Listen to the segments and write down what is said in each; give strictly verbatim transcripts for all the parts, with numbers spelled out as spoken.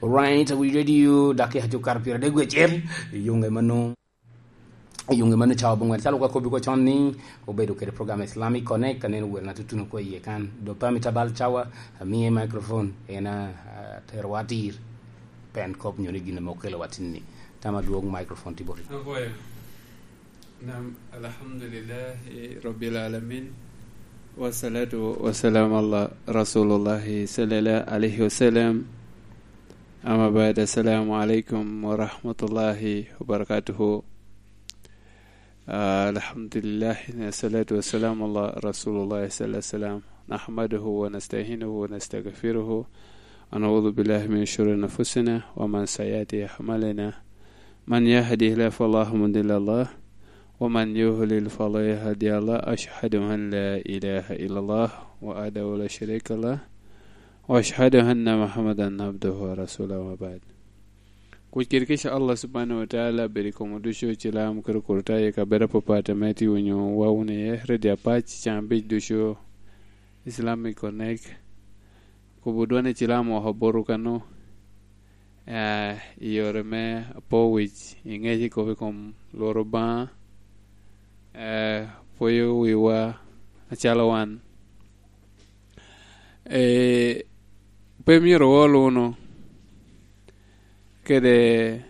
Right, we radio, dakika tye okato pyeradek wie acel. Yunge mano, yunge mano cawa bongwen. Calo ka kobbi ko con ni, obedo kede program Islamic Connect, ka neno wer na tutuno ko iye kan. Do pami tabal cawa, amiye microphone, en a, a, tero watir. Pen kop nyo ni gin ame okelo watin ni. Tama dwong microphone ti boti. Apoyo. Nam, alhamdulillahi Rabbil Alamin. Wassalatu wassalamu ala Rasulillahi sallallahu alaihi wasallam. Amma ba'd, assalamu alaikum wa rahmatullahi wa barakatuhu. Ah, alhamdulillah, wassalatu wassalamu ala Rasulullah sallallahu alaihi wasallam. Nahmaduhu wa nasta'inuhu wa nastaghfiruhu. Wa na'udhu billahi min shururi anfusina wa min sayyiati a'malina. من يهده الله فلا مضل له، ومن يضلل فلا هادي له. أشهد أن لا إله إلا الله وحده لا شريك له، وأشهد أن محمدا عبده ورسوله، وبعد. Kuc kede kica Allah subhanahu wa ta'ala bed i kom ducu, cilam kede kurta i kabedo apapat ame tye winyo wa wun iye, Radio Apac, can abic ducu, Islamic Connect. Kubo dwane cilam oko boto kano. Ah, i yore me apo wic, i ŋec i kop i kom lworo Obaŋa, eh, pwoyo wiwa acalo wan. Eh, pe myero wol wunu kede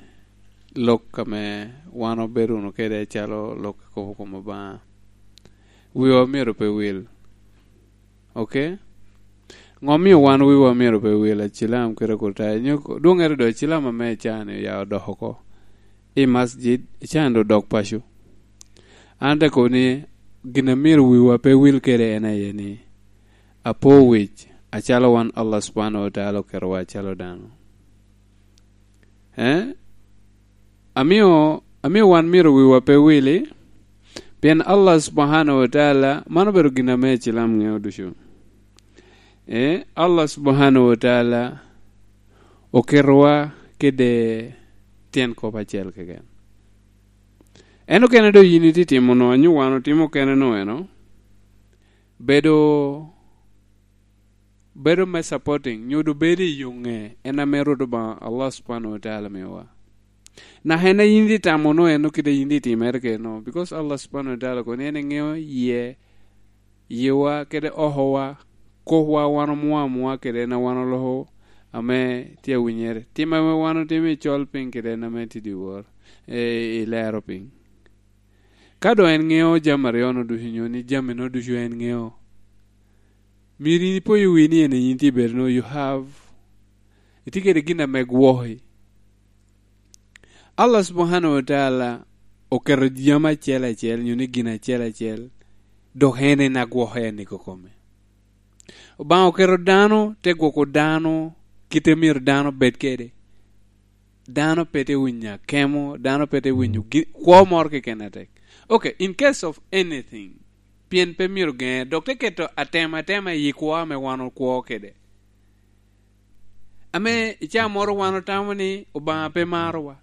lok ame wan obedo wunu kede acalo lok i kop i kom Obaŋa. Wiwa myero pe wil. Ok? Ŋo mio wan wiwa myero pe wil, acilam kede akurtayo? Nyo dwoŋŋere do, acilam ame icani oya odok oko i masjid, icani do odok paco. An te kobo ni, gin a myero wiwa pe wil kede en aye ni, apo wic, acalo wan Allah subhanahu wa ta'ala oketowa acalo dano. Eh? Amio, amio wan myero wiwa pe wili, pien Allah subhanahu wa ta'ala, man obedo gin ame cilam ŋeo ducu. Eh, Allah subhanahu wa ta'ala oketowa kede tyen kop acel keken. En okene do yin itye timo no, anyo wan otimo kene no eno, bedo bedo me supporting, nyo doŋ bedo i yo ŋe, en ame Rwot Obaŋa Allah subhanahu wa ta'ala miyowa. Naka en a yin itye tamo no, en okite yin itye timere kede no, because Allah subhanahu wa ta'ala kono en eŋeo yie, yiwa kede okowa, kopwa wan omuo amuoa kede en a wan oloko ame tye awinyere, tim ame wan otimo i col piny kede en ame tye dyewor, eh, i lero piny. Ka doŋ en ŋeo jami aryo no ducu, nyo ni jami no ducu en ŋeo, myero in ipoyo wii ni en yin tye bedo no, you have, itye kede gin ame gwoki. Allah subhanahu wa ta'ala oketo jami acel acel, nyo ni gin acel acel, dok en en agwoke en i kokome. Obaŋa oketo dano, te gwoko dano, kite myero dano bed kede. Dano pe te winyo akemo, dano pe te winyo gi-, kwo moro keken atek. Ok, in case of anything, pien pe myero geŋe, dok te keto atem atema i kwo ame wan okwo kede. Ame i caa moro wan otamo ni Obaŋa pe marowa.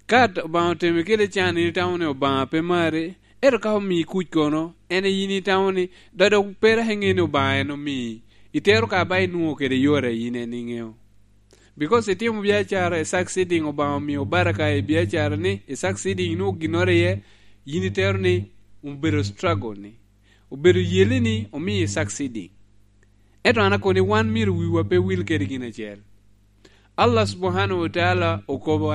Ka t-, Obaŋa otemi kede can, in itamo ni Obaŋa pe mari, ento ka omii kuc kono, en yin itamo ni, dok dok pe dok iŋeo ni Obaŋa en omii. Itero ka ba inwoŋo kede yore a yin en iŋeo. Because itimo biacara, i succeeding, Obaŋa omio baraka i biacara ni, i succeeding inwoŋo ginnoro iye, yin itero ni obedo struggle ni, obedo yelli ni omio i succeeding. Ento an akobo ni wan myero wiwa pe wil kede gin acel. Allah subhanahu wa ta'ala okobo